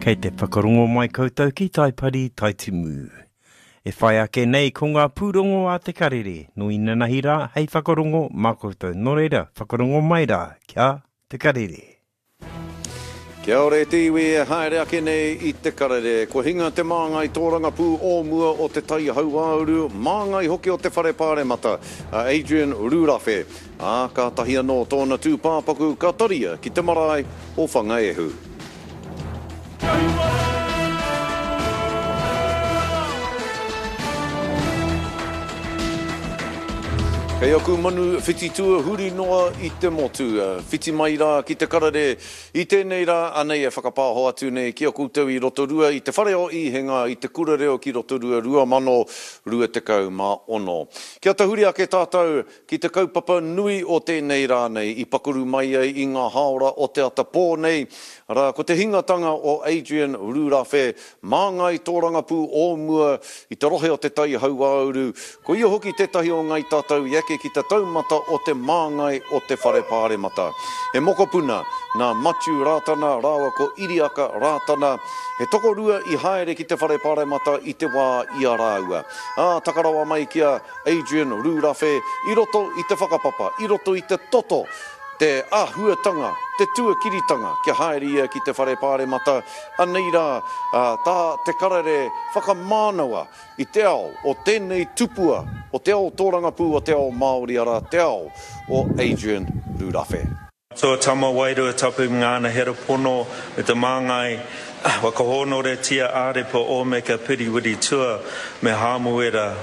Kei te whakarongo mai koutou ki Taipari Taitimu. E whai ake nei ko ngā pūrongo a Te Karere nō inanahi rā hei whakarongo mā koutou. Nō reira, whakarongo mai rā kia Te Karere. Kia ora e te iwi e haere ake nei i Te Karere. Kua hinga te māngai tōrangapū o mua o Te Tai Hauāuru, māngai hoki o te Whare Pāremata, a Adrian Rurawhe. Ā, kātahi anō tōna tūpāpaku ka taria ki te marae o Whangaehu. Kei aku manu whititua huri noa i te motu, whiti mai rā ki te karere i tēnei rā, anei e whakapāho atu nei ki a koutou i Rotorua i te whare o Īhenga i te Kura Reo ki Rotorua 2026. Kia tahuri ake tātou Ki te kaupapa nui o tēnei rā nei i pakaru mai ai i ngā hāora o te ata pō nei, arā, ko te hingatanga o Adrian Rurawhe, māngai tōrangapū o mua i te rohe o Te Tai Hauāuru, ko ia hoki tētahi o Ngai Tātou i eke ki te taumata o te māngai o te Whare Pāremata. He mokopuna nā Matiu Rātana rāua ko Iriaka Rātana, he tokorua i haere ki te Whare Pāremata i te wā i a rāua. Ā, taka rawa mai ki a. Adrian Rurawhe i roto i te whakapapa, i roto i te toto, te āhuatanga, te tuakiritanga kia haere ia ki te Whare Pāremata, anei rā tā Te Karere whakamānawa i te ao o tēnei tupua, o te ao tōrangapū o te ao Māori arā te ao o Adrian Rurawhe. Atua Tama Wairua Tapu Ngāna Hera Pono me te Māngai Whakahōnoretia Ārepa Ōmeka Piriwiri Tua me Hāmuera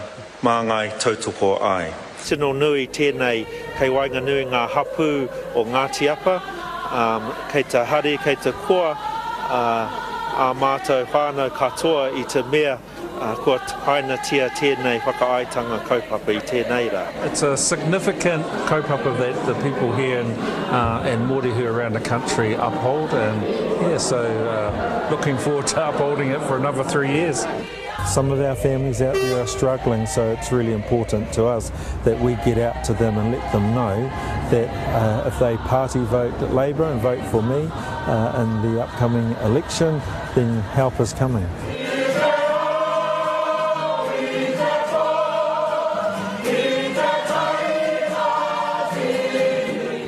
Māngai Tautoko Ai. Tino nui tēnei kei waenganui ngā hapū o Ngāti Apa, kei te hari, kei te koa ā mātou whānau katoa i te mea Kua hainatia tēnei whakaaetanga kaupapa i tēnei rā. It's a significant kaupapa that the people here in and Mōrehu around the country uphold and yeah so looking forward to upholding it for another 3 years. Some of our families out there are struggling so it's really important to us that we get out to them and let them know that uh, if they party vote Labour and vote for me uh, in the upcoming election then help is coming.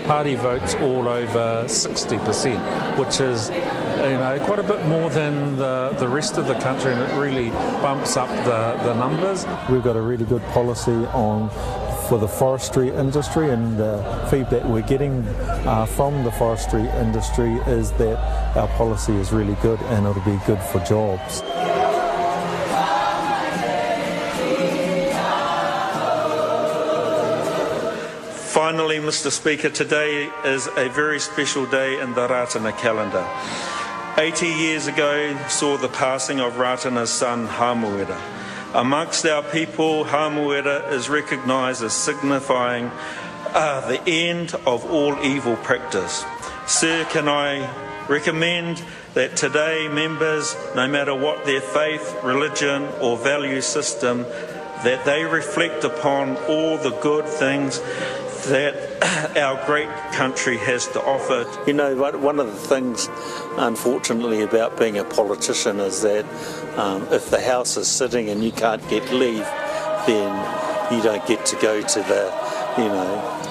Party votes all over 60%, which is you know, quite a bit more than the, the rest of the country, and it really bumps up the, the numbers. We've got a really good policy on for the forestry industry, and the feedback we're getting uh, from the forestry industry is that our policy is really good and it'll be good for jobs. Finally, Mr Speaker, today is a very special day in the Rātana calendar. 80 years ago saw the passing of Rātana's son Hamuera. Amongst our people, Hamuera is recognised as signifying uh, the end of all evil practice. Sir, can I recommend that today members, no matter what their faith, religion or value system, that they reflect upon all the good things that our great country has to offer. You know, one of the things, unfortunately, about being a politician is that um, if the house is sitting and you can't get leave, then you don't get to go to the, you know,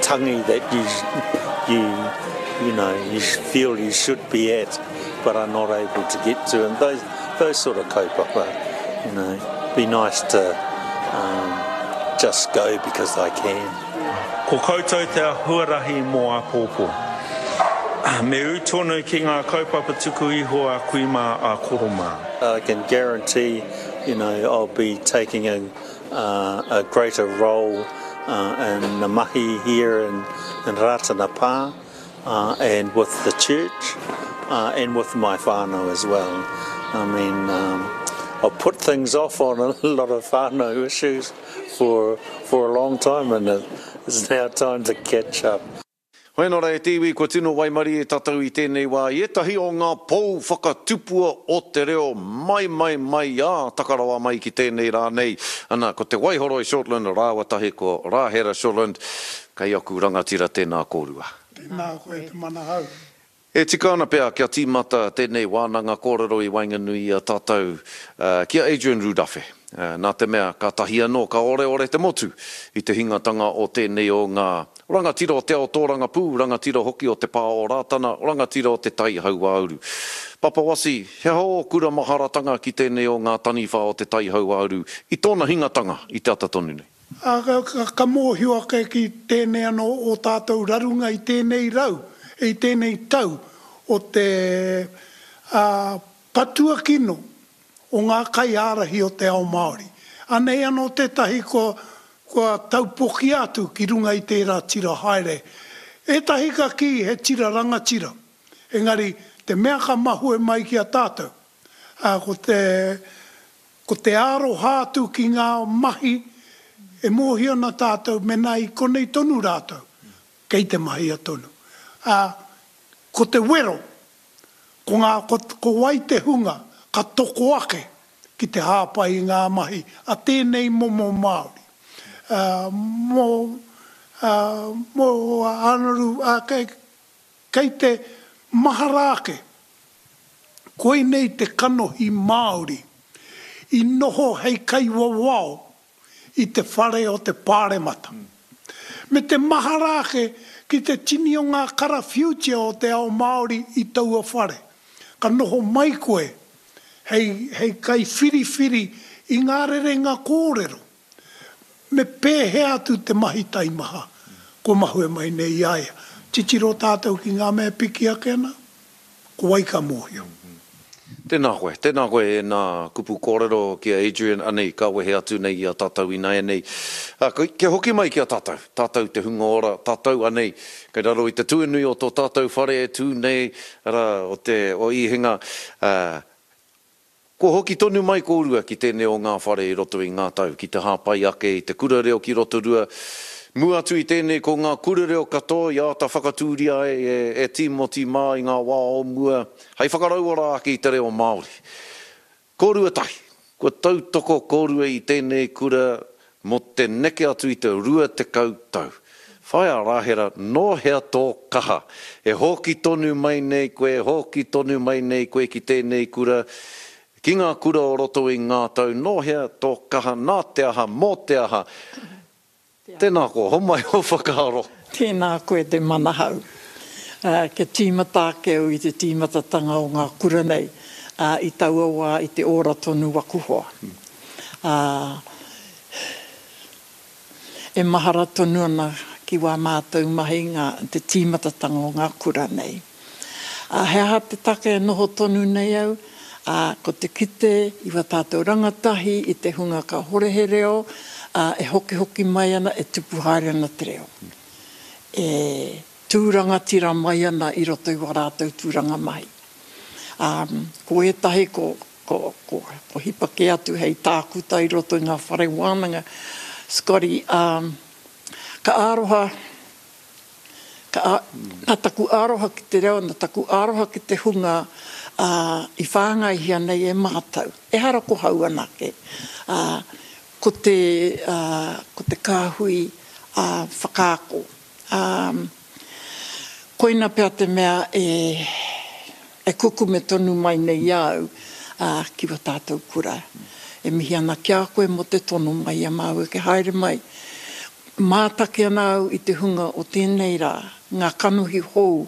tangi that you, you, you know, you feel you should be at, but are not able to get to. And those, those sort of kaupapa, you know, be nice to um, just go because I can. Ko koutou te huarahi mō āpōpō. Me ū tonu ki ngā kaupapa tuku iho a kui mā, a koro mā. I can guarantee, you know, I'll be taking a, uh, a greater role uh, in the mahi here in, in Rātana Pā uh, and with the church uh, and with my whānau as well. I mean, um, I've put things off on a lot of whānau issues for, for a long time and it's now time to catch up. Hoi anō rā e te iwi, kua tino waimarie tātou i tēnei wā i ētahi o ngā pou whakatupua o te reo mai mai mai ā taka rawa mai ki tēnei rā nei, ana ko Te Waihoroi Shortland rāua tahi ko Rāhera Shortland, kei aku rangatira tēnā kōrua. Tēnā koe te manahau. E tika ana pea kia tīmata tēnei wānanga kōrero i waenganui i a tātou ki a Adrian Rurawhe, nā te mea kātahi anō ka oreore te motu i te hingatanga o tēnei o ngā rangatira o te ao tōrangapū, rangatira hoki o te pā o Rātana, rangatira o te Tai Hauāuru. Papa Wasi, he aha ō kura maharatanga ki tēnei o ngā taniwha o te Tai Hauāuru i tōna hingatanga i te ata tonu nei? Ā, ka mōhio ake ki tēnei anō ō tātou rarunga i tēnei rau, i tēnei tau o te, ā, patua kino o ngā kaiārahi o te ao Māori. Anei anō tētahi kua, kua taupokia atu ki runga i tērā tira haere. Ētahi ka kī he tira rangatira, engari te mea ka mahue mai ki a tātou, ā, ko te, Ko te aroha atu ki ngā mahi e mōhio ana tātou mēnā i konei tonu rātou, kei te mahia tonu. Ā, ko te wero, ko ngā, ko, ko wai te hunga ka toko ake ki te hāpai i ngā mahi a tēnei momo Māori. Ā, mō, ā, mō Ānaru, ā, kei, kei te mahara ake Koinei te kanohi Māori i noho hei kaiwawao i te whare o te Pāremata. Me te mahara ake ki te tini o ngā karawhiutia o te ao Māori i taua whare. Ka noho mai koe hei, hei kaiwhiriwhiri i ngā rerenga kōrero. Me pēhea atu te mahi taimaha kua mahue mai nei i a ia? Titiro tātou ki ngā mea e piki ake ana, ko wai ka mōhio? Tēnā koe, tēnā koe e nā kupu kōrero ki a Adrian, anei ka wehe atu nei i a tātou ināianei. Kia hoki mai ki a tātou, tātou te hunga ora, tātou anei, kei raro i te tuanui o tō tātou whare e tū nei, arā, o te, o Īhenga, ā, Kua hoki tonu mai kōrua ki tēnei o ngā whare i roto i ngā tau ki te hāpai ake i te kura reo ki Rotorua. Mua atu i tēnei ko ngā kura reo katoa i āta whakatūria ai e Tīmoti mā i ngā wā o mua hei whakarauora ake i te reo Māori. Kōrua tahi, kua tautoko kōrua i tēnei kura mō te neke atu i te 20 tau. Whaea Rahera, nō hea tō kaha? E hōki tonu mai nei koe, hōki tonu mai nei koe ki tēnei kura, ki ngā kura o roto i ngā tau, nō hea tō kaha, nā te aha, mō te aha? Tēnā koa, homai ō whakaaro. Tēnā koe te manahau. Kia tīmata ake au i te tīmatatanga o ngā kura nei, i taua wā i te ora tonu waku hoa. Ā, e mahara tonu ana ki wā mātou mahi ngā, te tīmatatanga o ngā kura nei. Ā, he aha te take e noho tonu nei au? Ā, ko te kite i wā tātou rangatahi, i te hunga kāhore he reo, ā, e hokihoki mai ana, e tupu haere ana te reo. E tū rangatira mai ana i roto i wā rātou tūranga mahi. Ā, ko ētahi ko, Ko, ko, ko hipa kē atu hei tākuta i roto i ngā whare wānanga, Scotty, ā, ka aroha, ka, a, nā taku aroha ki te reo, nā taku aroha ki te hunga, ā, i whāngaihia nei e mātou. Ehara ko hau anake, ā, ko te, ā, ko te kāhui, ā, whakaako. Ā, koina pea te mea e, e kukume tonu mai nei i a au, ā, ki wā tātou kura. E mihi ana ki a koe mō te tono mai i a māua kia haere mai. Mātaki ana au i te hunga o tēnei rā, ngā kanohi hou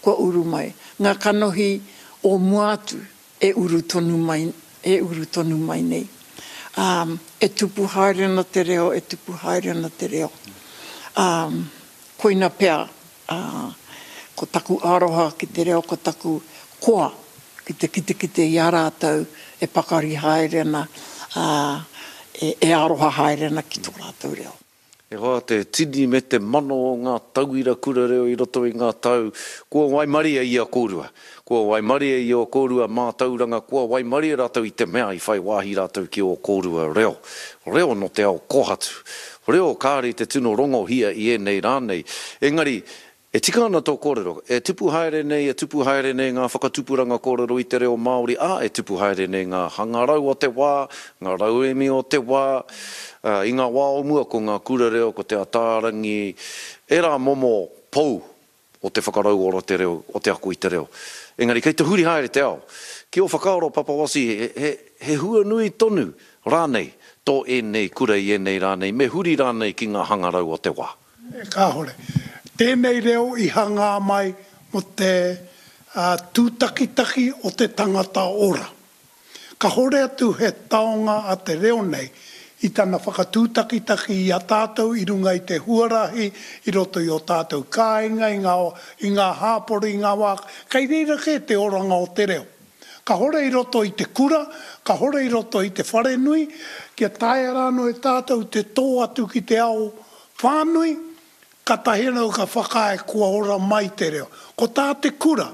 kua uru mai, ngā kanohi o mua atu e uru tonu mai, e uru tonu mai nei. Ā, e tupu haere ana te reo, e tupu haere ana te reo. Ā, koina pea, ā, ko taku aroha ki te reo, ko taku koa ki te kitekite i a rātou e pakari haere ana, ā, e, e aroha haere ana ki tō rātou reo. E hoa, te tini me te mano o ngā tauira kura reo i roto i ngā tau, kua waimarie i a kōrua. Kua waimarie i ō kōrua mātauranga, kua waimarie rātou i te mea i whai wāhi rātou ki ō kōrua reo. Reo nō te ao kōhatu. Reo kāre i te tino rongohia i ēnei rā nei. Engari, E tika ana tō kōrero, e tupu haere nei, e tupu haere nei ngā whakatupuranga kōrero i te reo Māori, ā, e tupu haere nei ngā hangarau o te wā, ngā rauemi o te wā. Ā, i ngā wā o mua ko ngā kura reo, ko Te Ataarangi, ērā momo pou o te whakarauora te reo, o te ako i te reo. Engari kei te huri haere te ao. Ki ō whakaaro Papa Wasi, he, he hua nui tonu rānei tō ēnei kura i ēnei rā nei, me huri rānei ki ngā hangarau o te wā? Kāore. Tēnei reo i hangā mai mō te tūtakitaki o te tangata ora. Kahore atu he taonga a te reo nei i tana whakatūtakitaki i a tātou i runga i te huarahi, i roto i ō tātou kāinga, i ngā, i ngā hāpori, i ngā wā, kei reira kē te oranga o te reo. Kahore i roto i te kura, kahore i roto i te wharenui, kia taea rānō e tātou te tō atu ki te ao whānui, katahi anō ka whakaae kua ora mai te reo. Ko tā te kura,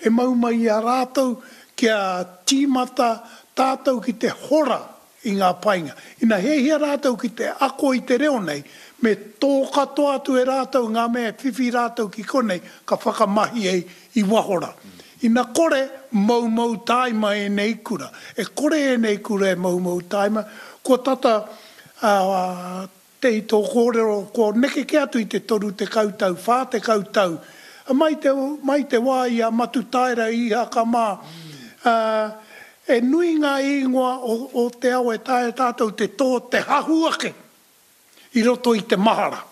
e mau mai i a rātou kia tīmata tātou ki te hora i ngā painga. Ina hiahia rātou ki te ako i te reo nei, me tō katoa atu e rātou ngā mea e whiwhi rātou ki konei ka whakamahi ai i waho rā. Ina kore, moumou tāima ēnei kura. E kore ēnei kura e moumou tāima, kua tata Te i tō kōrero, kua neke kē atu i te 30 tau, 40 tau, mai te, mai te wā i a Matutaera, i Ihaka mā, ā, e nui ngā īngoa o, o te ao e taea tātou te tō, te hahu ake i roto i te mahara.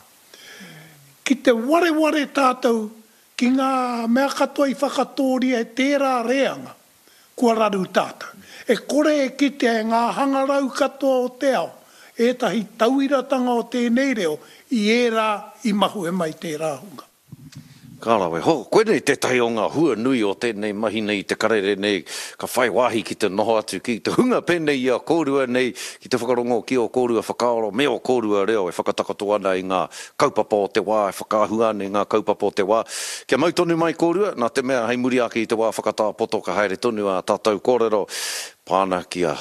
Ki te wareware tātou ki ngā mea katoa i whakatōria e tērā reanga, Kua raru tātou. E kore e kitea e ngā hangarau katoa o te ao ētahi tauiratanga o tēnei reo i ērā i mahue mai tērā hunga. Ka rawe. Ho, koinei tētahi o ngā hua nui o tēnei mahi nei i te karere nei, ka whai wāhi ki te noho atu ki te hunga pēnei i a kōrua nei, ki te whakarongo ki ō kōrua whakaaro me ō kōrua reo e whakatakoto ana i ngā kaupapa o te wā, e whakaahua ana i ngā kaupapa o te wā. Kia mau tonu mai kōrua, nā te mea hei muri ake i te wā whakatā poto ka haere tonu ā tātou kōrero pā ana ki a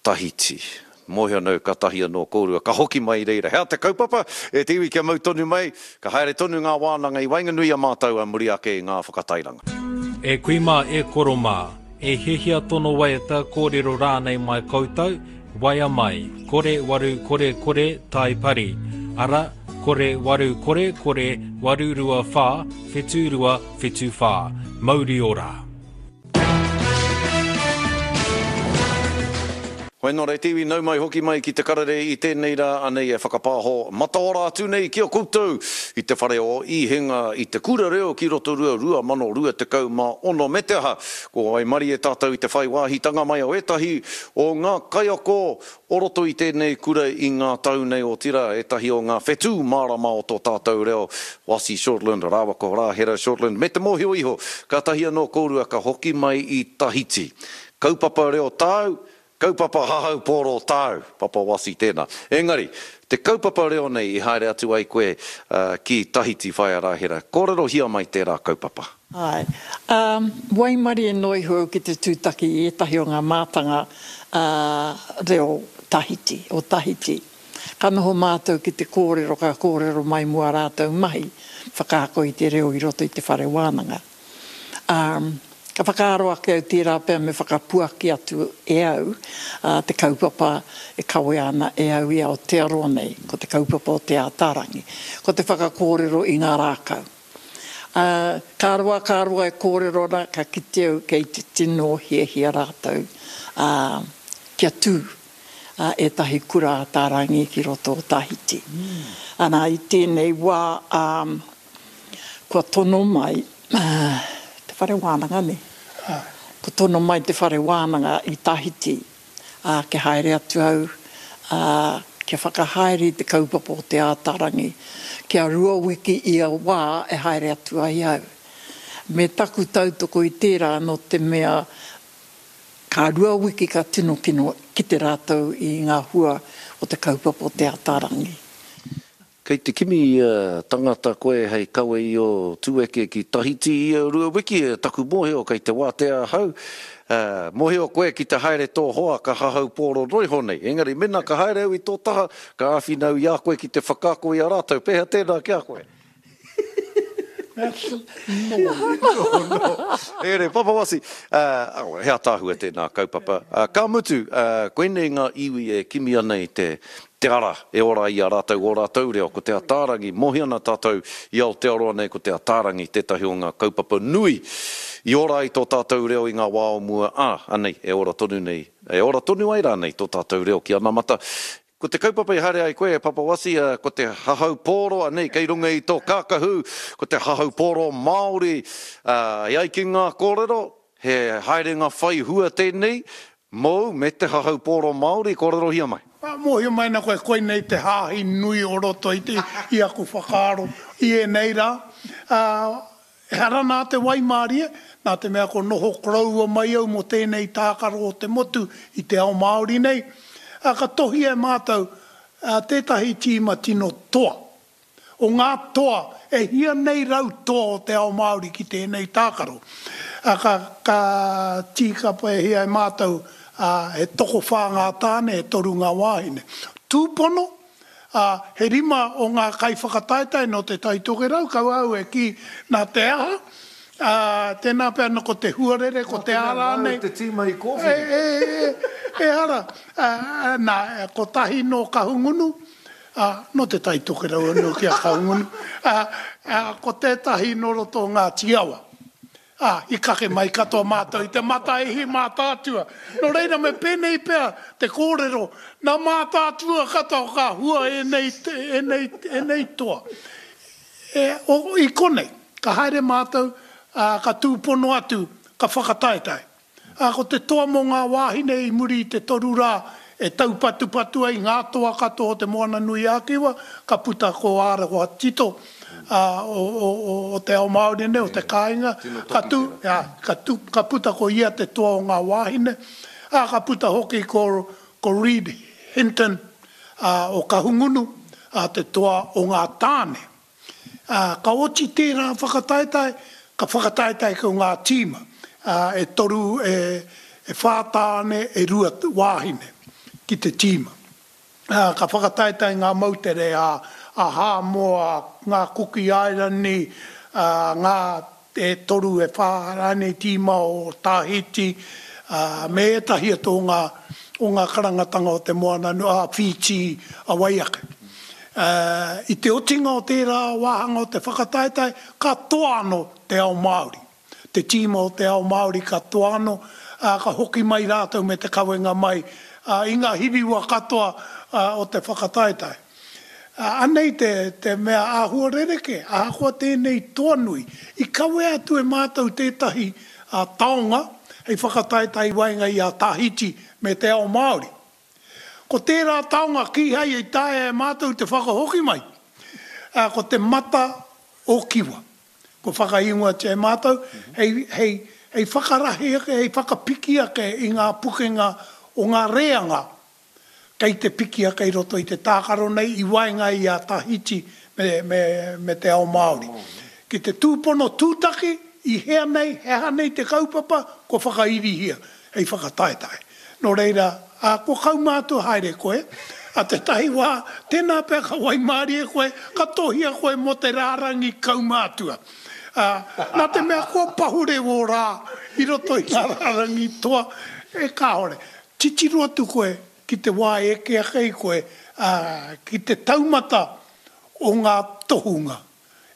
Tahiti. Mōhio ana au kātahi anō kōrua ka hoki mai i reira. He aha te kaupapa? E te iwi kia mau tonu mai, ka haere tonu ngā wānanga i waenganui i a mātou ā muri ake i ngā whakatairanga. E kui mā, e koro mā, e hiahia tono waiata, kōrero rānei mai koutou, Waea mai, kore waru kore kore tai pari, ara, kore waru kore kore 8 2 wha whitu rua whitu wha. Mauri ora. Hoi nō reira te iwi, nau mai hoki mai ki te karere i tēnei rā, anei e whakapāho mataora atu nei ki a koutou i te whare o Īhenga i te Kura Reo ki Rotorua 2026 me te aha, Kua waimarie tātou i te whai wāhitanga mai o ētahi o ngā kaiako o roto i tēnei kura i ngā tau nei, otirā, ētahi o ngā whetū mārama o tō tātou reo, Wasi Shortland rāua ko Rāhera Shortland, me te mōhio iho, kātahi anō kōrua ka hoki mai i Tahiti. Kaupapa reo tāu, Kaupapa hahau pōro tāu, Papa Wasi tēnā. Engari, te kaupapa reo nei i haere atu ai koe ki Tahiti Whaea Rahera, kōrerohia mai tērā kaupapa. Āe. Ā, waimarie noa iho au ki te tūtaki i ētahi o ngā mātanga reo Tahiti, o Tahiti. Ka noho mātou ki te kōrero, ka kōrero mai mō ā rātou mahi whakaako i te reo i roto i te whare wānanga. Ā, ka whakaaro ake au tērā pea me whakapuaki atu e au te kaupapa e kawea ana e au i Aotearoa nei, ko te kaupapa o Te Ātaarangi, ko te whakakōrero i ngā rākau. Ā, ka roa, ka roa e kōrero ana, ka kite au kei te tino hiahia rātou, ā, kia tū ētahi kura Ātaarangi ki roto o Tahiti. Ana, i tēnei wā, ā, Kua tono mai te whare wānanga, nē? Kua tono mai te whare wānanga i Tahiti, ā, kia haere atu au, ā, kia whakahaere i te kaupapa o Te Ātaarangi, kia rua wiki ia wā e haere atu ai au. Me taku tautoko i tērā nō te mea ka rua wiki ka tino kino kite rātou i ngā hua o te kaupapa o Te Ātaarangi. Kei te kimi tangata koe hei kawe i ō tueke ki Tahiti ia rua wiki, taku mōhio kei te wātea ahau. Mōhio koe ki te haere tō hoa ka hahau pōro noiho nei. Engari mena ka haere au i tō taha, ka āwhina au i a koe ki te whakaako i a rātou. Pēhea tēnā ki a koe? No. No, no. Ere, Papa Wasi, he ataahua tēnā kaupapa. Ka mutu, koinei ngā iwi e kimi ana i te, Te ara e ora ai i a rātou ō rātou reo, ko Te Ataarangi, mōhio ana tātou i Aotearoa nei ko Te Ataarangi tētahi o ngā kaupapa nui i ora ai tō tātou reo i ngā wā o mua, ā, anei, e ora tonu nei, e ora tonu ai rānei tō tātou reo ki anamata. Ko te kaupapa i haere ai koe e Papa Wasi, ko te hahau pōro, anei, kei runga i tō kākahu, ko te hahau pōro Māori, ā, e ai ki ngā kōrero, he haerenga whai hua tēnei, Mōu me te hahau pōro Māori, kōrerohia mai. Ā, mōhio mai ana koe koinei te hāhi nui o roto i te, i aku whakaaro i ēnei rā. Ā, ehara nā te waimārie, nā te mea ko noho koroua mai au mō tēnei tākaro o te motu i te ao Māori nei, ā, ka tohia e mātou, ā, tētahi tīma tino toa. O ngā toa, e hia nei toa o te ao Māori ki tēnei tākaro. Ā, ka, ka tīkapahia e mātou, ā, he tokowhā ngā tāne, e toru ngā wāhine. Tūpono, ā, he rima o ngā kaiwhakataetae nō Te Tai Tokerau, kaua au e kī nā te aha, ā, tēnā pea nō ko te huarere, ko te aha rānei. Nā te mea māu te tīma i kōwhiri. E, e, e, ehara, ā, nā, kotahi nō Kahungunu, Ā, nō Te Tai Tokerau anō ki a Kahungunu, ā, ā, ko tētahi nō roto o Ngāti Awa. Ā, i kake mai katoa mātou i te Mataihi Mātaatua. Nō reira me pēnei pea te kōrero, nā Mātaatua katoa ka hua ēnei, ēnei, ēnei toa. E, o, i konei, ka haere mātou, ā, ka tūpono atu, ka whakataetae. Ā, ko te toa mō ngā wāhine i muri i te toru rā e taupatupatu ai ngā toa katoa o Te Moana-nui-ā-Kiwa, ka puta ko Ārawa Tito, ā, o, o, o, o te ao Māori nei, o te kāinga, ka tū, ā, ka tū, ka puta ko ia te toa o ngā wāhine, ā, ka puta hoki ko, ko Reed Hinton, ā, o Kahungunu, ā, te toa o ngā tāne. Ā, ka oti tērā whakataetae, ka whakataetae ko ngā tīma, ā, e toru, e, e whā tāne, e rua wāhine ki te tīma. Ā, ka whakataetae ngā moutere a, a Hāmoa, ngā Kuki Airani, ā, ngā e toru, e whā rānei tīma o Tahiti, ā, me ētahi atu o ngā, o ngā karangatanga o te moana, ā, Whītī, a wai ake. Ā, i te otinga o tērā wāhanga o te whakataetae, ka toa anō te ao Māori. Te tīma o te ao Māori ka toa anō, ā, ka hoki mai rātou me te kawenga mai, ā, i ngā hiriwa katoa, ā, o te whakataetae. Ā, anei te, te mea āhua rerekē, ahakoa tēnei toa nui, i kawea atu e mātou tētahi, ā, taonga hei whakataetae i waenga i a Tahiti me te ao Māori. Ko tērā taonga kīhai i taea e mātou te whakahoki mai, ā, ko te mata o Kiwa. Kua whakaingoatia e mātou hei, hei, hei whakarahi ake, hei whakapiki ake i ngā pukenga o ngā reanga kei te piki ake i roto i te tākaro nei i waenga i a Tahiti me, me, me te ao Māori. Ki te tūpono tūtaki, i hea nei, he aha nei te kaupapa, kua whakairihia hei whakataetae. Nō reira, ā, kua kaumātua haere koe, ā tētahi wā, tēnā pea ka waimārie koe, ka tohia koe mō te rārangi kaumātua. Ā, nā te mea kua pahure wō rā i roto i ngā rārangi toa, e kāore. Titiro atu koe ki te wā e eke ake ai koe, ā, ki te taumata o ngā tohunga.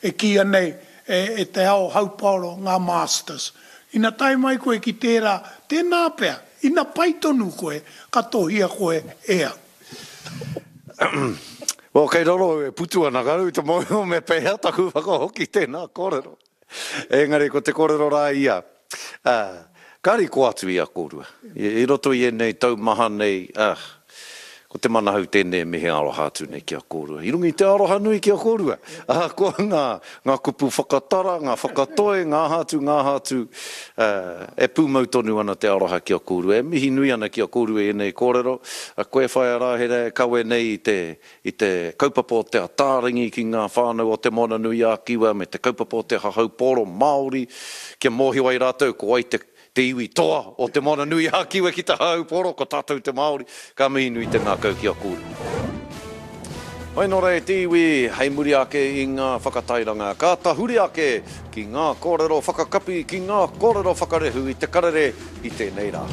E kīia nei e te ao haupaoro ngā masters. Ina tae mai koe ki tērā, tēnā pea, ina pai tonu koe, ka tohia koe e au. Well, kei raro au e putu ana, ka rau te mōhio me pēhea taku whakahoki tēnā kōrero. Engari ko te kōrero rā ia, ā, ka riko atu i a kōrua. I roto i ēnei tau maha nei, ā, ko te manahau tēnei e mihi aroha atu nei ki a kōrua. I runga i te aroha nui ki a kōrua, ahakoa ngā, ngā kupu whakatara, ngā whakatoi, ngā aha atu, ngā aha atu, ā, e pūmau tonu ana te aroha ki a kōrua. E mihi nui ana ki a kōrua i ēnei kōrero. A koe Whaea Rāhera e kawe nei i te, i te kaupapa o Te Ataarangi ki ngā whānau o Te Moana-nui-ā-Kiwa me te kaupapa o te hahau pōro Māori kia mōhio ai rātou ko wai te, te iwi toa o Te Moana-nui-ā-Kiwa ki te hahau pōro, ko tātou te Māori. Ka mihi nui te ngākau ki a kōrua. Mai nō reira te iwi hei muri ake i ngā whakatairanga, ka tahuri ake ki ngā kōrero whakakapi, ki ngā kōrero whakarehu i te karere i tēnei rā.